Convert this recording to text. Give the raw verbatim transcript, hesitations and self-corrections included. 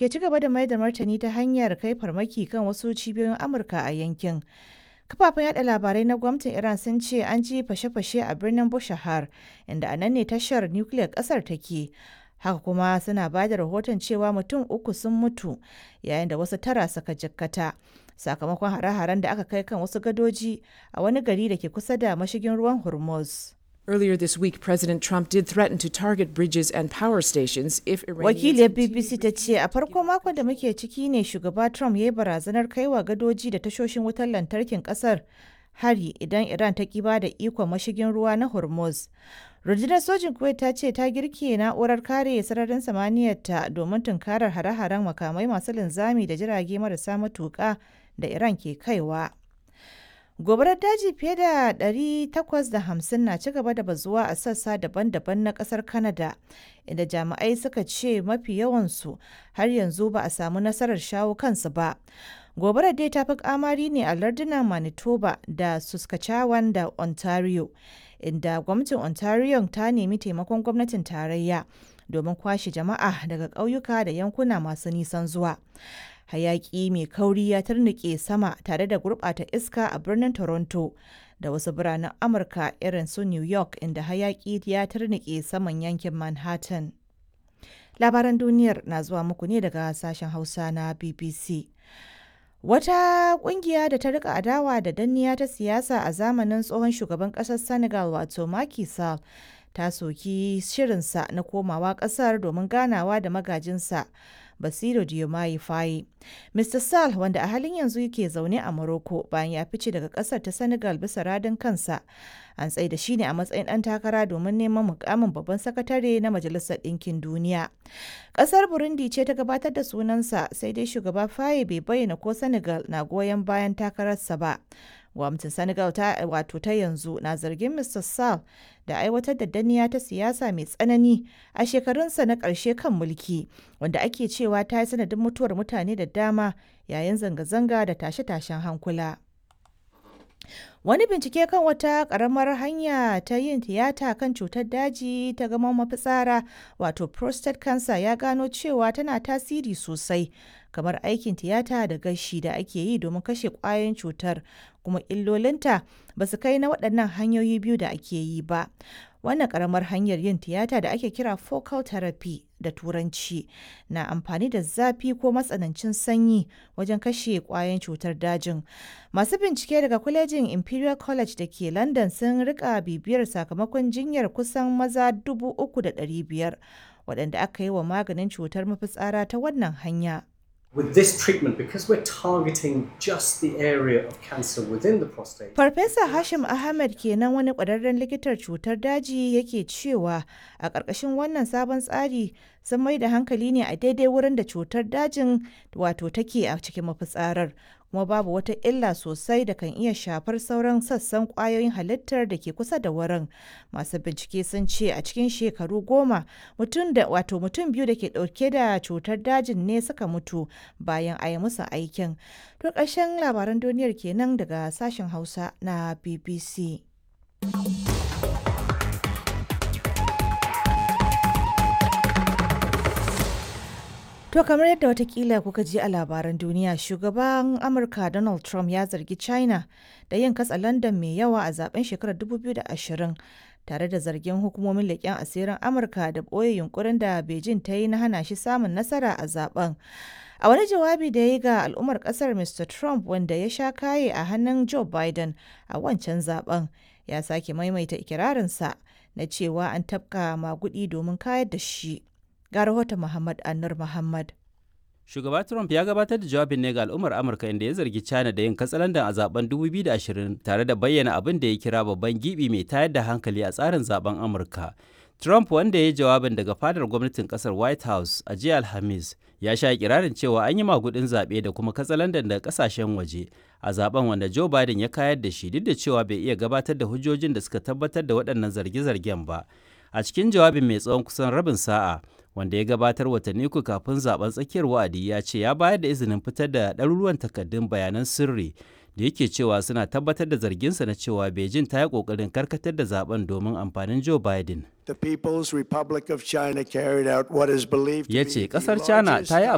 ke ci gaba da mai da martani ta hanyar kai farmaki kan wasu cibiyoyin Amurka a yankin. Kafafen yada labarai na gwamnatin Iran sun ce an ji fashe-fashe a birnin Bushahar, inda a nan ne tashar nukiliyar kasar take. Haka kuma suna ba da rahoton cewa mutum uku sun mutu yayin da wasu tara suka jikkata sakamakon hare-haren da aka kai kan wasu gadoji a wani gari da ke kusa da mashigin ruwan Hormuz. Earlier this week, President Trump did threaten to target bridges and power stations if Iranians Wakiliyar B B C ta ce a farko makon da muke ciki ne shugaba Trump ya yi barazanar kaiwa gadoji da tashoshin wutar lantarkin kasar hari idan Iran ta ki ba da ikon mashigin ruwa na Hormuz. Rundunar sojin Kuwait ta ce ta girke na'urar kare sararin samaniyarta domin tunkarar hare-haren makamai masu linzami da jirage marasa matuƙa da Iran ke kaiwa. Gobarar daji fiye da ɗari takwas da hamsin na ci gaba da bazuwa a sassa daban-daban na kasar Canada, inda jami'ai suka ce mafi yawansu har yanzu ba a samu nasarar shawo kansu ba. Gobarar dai ta fi kamari ne a lardunan Manitoba da Saskatchewan da Ontario, inda gwamnatin Ontario ta nemi taimakon gwamnatin tarayya domin kwashe jama'a daga ƙauyuka da yankuna masu nisan zuwa. Hayaki mai kauri ya tarnike sama tare da gurɓata iska a birnin Toronto da wasu biranen Amurka irin su New York, inda hayaki ya tarnike saman yankin Manhattan. Labaran duniyar na zuwa muku ne daga sashen Hausa na B B C. Wata kungiya da ta rika adawa da danniya ta siyasa a zamanin tsohon shugaban kasar Senegal wato Macky Sall ta soki shirinsa na komawa kasar domin ganawa da magajinsa Basiru Diomaye Faye. Mister Sall, wanda a halin yanzu yake zaune a Morocco bayan ya fice daga kasar ta Senegal bisa radin kansa, an tsaida shi ne a matsayin ɗan takara domin neman mukamin babban sakatare na Majalisar Ɗinkin Duniya. Kasar Burundi ce ta gabatar da sunansa, sai dai shugaba Faye bai bayyana ko Senegal na goyon bayan takararsa ba. Gwamnatin Senegal ta wato ta yanzu na zargin Mister Sall da aiwatar da danniya ta siyasa mai tsanani a shekarunsa na ƙarshe kan mulki, wanda ake cewa ta yi sanadin mutuwar mutane da dama yayin zanga-zanga da tashe-tashen hankula. Wani bincike kan wata ƙaramar hanya ta yin tiyata kan cutar daji ta gaman mafitsara wato prostate cancer ya gano cewa tana tasiri sosai kamar aikin tiyata da gashi da ake yi domin kashe ƙwayoyin cutar, kuma illolinta ba su kai na waɗannan hanyoyi biyu da ake yi ba. Wannan ƙaramar hanyar yin tiyata da ake kira focal therapy da turanci na amfani da zafi ko matsanancin sanyi wajen kashe ƙwayoyin cutar dajin. Masu bincike daga kwalejin Imperial College da ke London sun rika bibiyar sakamakon jinyar kusan maza dubu uku da ɗari biyar waɗanda aka yi wa maganin cutar mafitsara ta wannan hanya. With this treatment, because we're targeting just the area of cancer within the prostate. Farfesa Hashim Ahmed kenan, wani ƙwararren likitar cutar daji, yake cewa a ƙarƙashin wannan sabon tsari sun mai da hankali ne a daidai wurin da cutar dajin wato take a cikin mafitsarar, kuma babu wata illa sosai da kan iya shafar sauran sassan ƙwayoyin halittar da ke kusa da wurin. Masu bincike sun ce a cikin shekaru goma mutum da wato mutum biyu da ke ɗauke da cutar dajin ne suka mutu bayan a yi musu aikin. To, ƙarshen labaran duniyar kenan daga sashen Hausa na B B C. To, kamar yadda watakila kuka ji a labaran duniya, shugaban Amurka Donald Trump ya zargi China da yin katsa London mai yawa a zaben shekarar dubu biyu da ashirin, tare da zargin hukumomin leƙen asirin Amurka da ɓoye yunkurin da Beijing ta yi na hana shi samun nasara a zaben. A wani jawabi da ya yi ga al'ummar kasar, Mister Trump, wanda ya sha kaye a hannun Joe Biden a wancan zaben, ya sake maimaita ikirarinsa na cewa an tafka magudi domin kayar da shi. Ga rahoton Muhammad Annur Muhammad. Shugaba Trump ya gabatar da jawabin ne ga al'ummar Amurka, inda ya zargi China da yin katsalandan a zaben dubu biyu da ashirin tare da bayyana abin da ya kira babban gibi mai tayar da hankali a tsarin zaben Amurka. Trump, wanda ya yi jawabin daga fadar gwamnatin kasar White House a jiya Alhamis, ya sha kirarin cewa an yi magudin zaɓe da kuma katsalandan daga kasashen waje a zaben wanda Joe Biden ya kayar da shi, duk da cewa bai iya gabatar da hujjojin da suka tabbatar da waɗannan zarge-zargen ba. A cikin jawabin mai tsawon kusan rabin sa'a, wanda ya gabatar watanni uku kafin zaben tsakiyar wa'adi, ya ce ya bayar da izinin fitar da ɗaruruwan takardun bayanan sirri da yake cewa suna tabbatar da zarginsa na cewa Beijing ta yi ƙoƙarin karkatar da zaben domin amfanin Joe Biden. The People's Republic of China carried out what is believed to Ya be ce the ƙasar China ta yi largest